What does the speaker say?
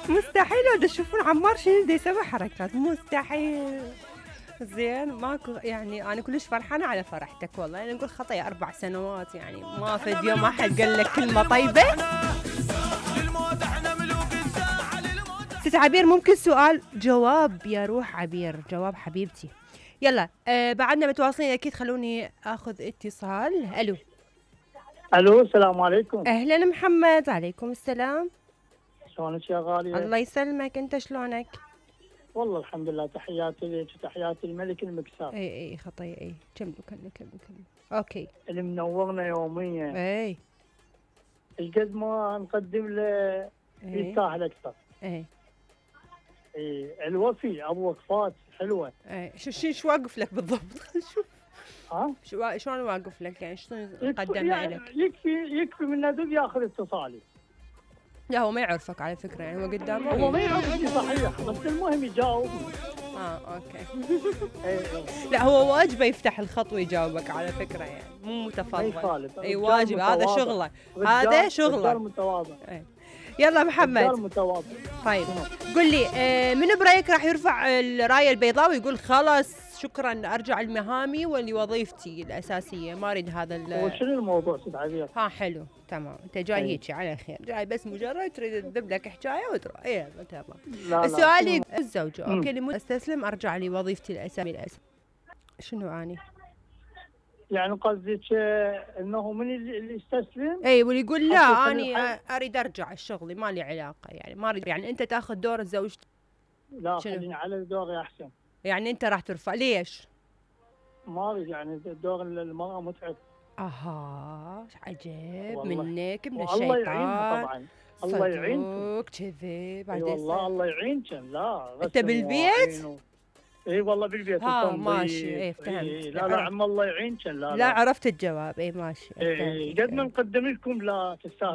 مستحيل لو تشوفون عمار شنو دا يسوي حركات، مستحيل. زين ماكو يعني انا كلش فرحانه على فرحتك والله، يعني نقول خطا 4 سنوات يعني ما فد يوم ما حد قال لك كلمه طيبه. ست عبير ممكن سؤال جواب يا روح عبير، جواب حبيبتي. يلا بعدنا متواصلين اكيد، خلوني اخذ اتصال. الو الو السلام عليكم. اهلا محمد. عليكم السلام. شلونك يا غالية؟ الله يسلمك، انت شلونك؟ والله الحمد لله، تحياتي لك وتحياتي الملك المكسار. اي خطيه اي كملوا اوكي. اللي منورنا يوميا. اي ايش قد ما نقدم له يستاهل اكثر. اي الوفي ابو وقفات حلوه. اي شو واقف لك بالضبط؟ شوف ها شلون واقف لك يعني شلون قدمنا يعني لك؟ يكفي من ندب ياخذ اتصالي. لا هو ما يعرفك على فكره، يعني هو قدامه هو ما يعرفني صحيح، بس المهم يجاوب. اوكي. اي لا هو واجبه يفتح الخط ويجاوبك على فكره، يعني مو متفضل. اي واجب، هذا شغله، هذا شغله. رجال متواضع. يلا محمد. رجال متواضع. طيب قل لي من برايك راح يرفع الرايه البيضاء ويقول خلاص شكرا ارجع لمهامي ولوظيفتي الاساسيه، ما اريد هذا وشنو الموضوع ست عبير؟ حلو تمام، انت جاي هيك على خير، جاي بس مجرد تريد تذب لك حكايه وتروح. يلا تمام. السؤال الزوجه اوكي لمده استسلم ارجع لوظيفتي الاساسيه. شنو اني؟ يعني قصدك انه من اللي يستسلم؟ اي واللي يقول لا اني اريد ارجع الشغلي، ما لي علاقه، يعني ما اريد، يعني انت تاخذ دور زوجتي. لا خليني على دوري احسن. يعني انت راح ترفع ليش؟ ما اريد، يعني دور المراه متعب. عجب منك من الشيطان. الله يعينها طبعا. الله يعينك كذي بعد. والله الله يعينك. لا انت بالبيت؟ اي والله بالبيت. ماشي فهمت. لا عم الله يعينك. لا عرفت الجواب. ماشي. قد ما نقدم لكم لا تستاهلوا.